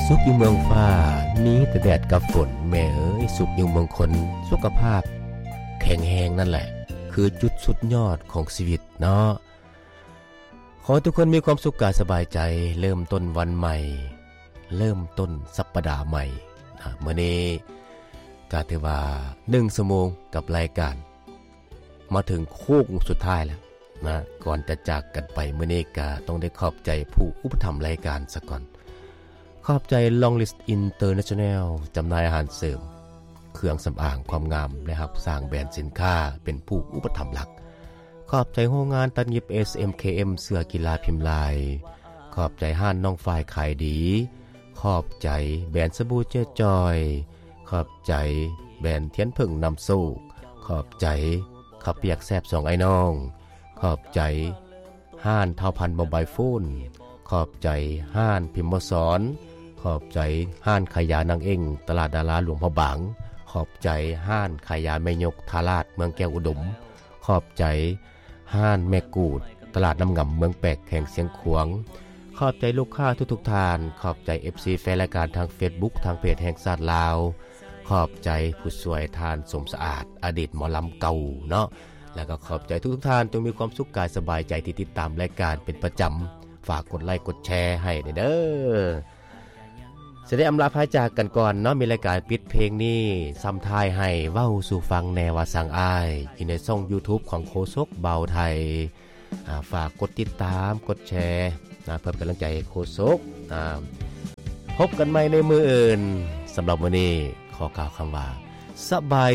ສຸກຢູ່ເມືອງຟ້າ ມີແຕ່ແດດກັບຝົນ ແມ່ເອີຍ ສຸກຢູ່ເມືອງຄົນ ສຸຂະພາບແຂງແຮງນັ້ນແຫຼະ ຄືຈຸດສຸດຍອດຂອງຊີວິດເນາະ. ຂໍໃຫ້ທຸກຄົນມີຄວາມສຸກກາຍສະບາຍໃຈ ເລີ່ມຕົ້ນວັນໃໝ່ ເລີ່ມຕົ້ນສັບປະດາໃໝ່ນະ. ມື້ນີ້ກະຖືວ່າໜຶ່ງຊົ່ວໂມງກັບລາຍການ ມາເຖິງໂຄ້ງສຸດທ້າຍແລ້ວນະ. ກ່ອນຈະຈາກກັນໄປມື້ນີ້ ກະຕ້ອງໄດ້ຂອບໃຈຜູ້ອຸປະຖຳລາຍການສາກ່ອນ. ຂອບໃຈ Long List International ຈຳໜ່າຍອາຫານເສີມ, ເຄື່ອງສຳອາງ, ຄວາມງາມ ແລະ ຮັບສ້າງແບຣນສິນຄ້າ ເປັນຜູ້ອຸປະຖຳຫຼັກ. ຂອບໃຈໂຮງງານຕັດຫຍິບ ເອສ ເອັມ ເຄ ເອັມ ເສື້ອກິລາພິມລາຍ. ຂອບໃຈຮ້ານນ້ອງຝ້າຍຂາຍດີ. ຂອບໃຈແບຣນສະບູເຈ້ຈອຍ. ຂອບໃຈແບຣນທຽນເຜິ້ງນຳໂຊກ. ຂອບໃຈເຂົ້າປຽກແຊບສອງອ້າຍນ້ອງ. ຂອບໃຈຮ້ານທ້າວພັນໂມບາຍໂຟນ. ຂອບໃຈຮ້ານພິມມະສອນ. ຂອບໃຈຮ້ານຂາຍຢານາງເອັ້ງ ຕະຫຼາດດາລາຫຼວງພະບາງ. ຂອບໃຈຮ້ານຂາຍຢາແມ່ຍົກທ່າລາດ ເມືອງແກ້ວອຸດົມ. ຂອບໃຈຮ້ານແມ່ກູດ ຕະຫຼາດນ້ຳງຳ ເມືອງແປກ ແຂວງຊຽງຂວາງ. ຂອບໃຈລູກຄ້າທຸກໆທ່ານ. ຂອບໃຈ ເອັຟຊີ ແຟນລາຍການທາງເຟສບຸກ ທາງເພຈແຫ່ງຊາດລາວ. ຂອບໃຈຜູ້ຊ່ວຍທ່ານສົມສະອາດ ອະດີດໝໍລຳເກົ່າເນາະ. ແລ້ວກໍຂອບໃຈທຸກໆທ່ານ ຈົ່ງມີຄວາມສຸກກາຍສະບາຍໃຈທີ່ຕິດຕາມລາຍການເປັນປະຈຳ. ຝາກກົດໄລກົດແຊໃຫ້ແດ່ເດີ. ຊິໄດ້ອຳລາພາຈາກກັນກ່ອນເນາະ, ມີລາຍການປິດເພງນີ້ ຊ້ຳທ້າຍໃຫ້ເວົ້າສູ່ຟັງແດ່ວ່າສັງອ້າຍ ຢູ່ໃນຊ່ອງ YouTube ຂອງໂຄສົກເບົາໄທ. ອາ ຝາກກົດຕິດຕາມ ກົດແຊນະ ເພື່ອເປັນກຳລັງໃຈໃຫ້ໂຄສົກ. ອາ ພົບກັນໃໝ່ໃນມື້ອື່ນ. ສຳລັບມື້ນີ້ ຂໍກ່າວຄຳວ່າ ສະບາຍ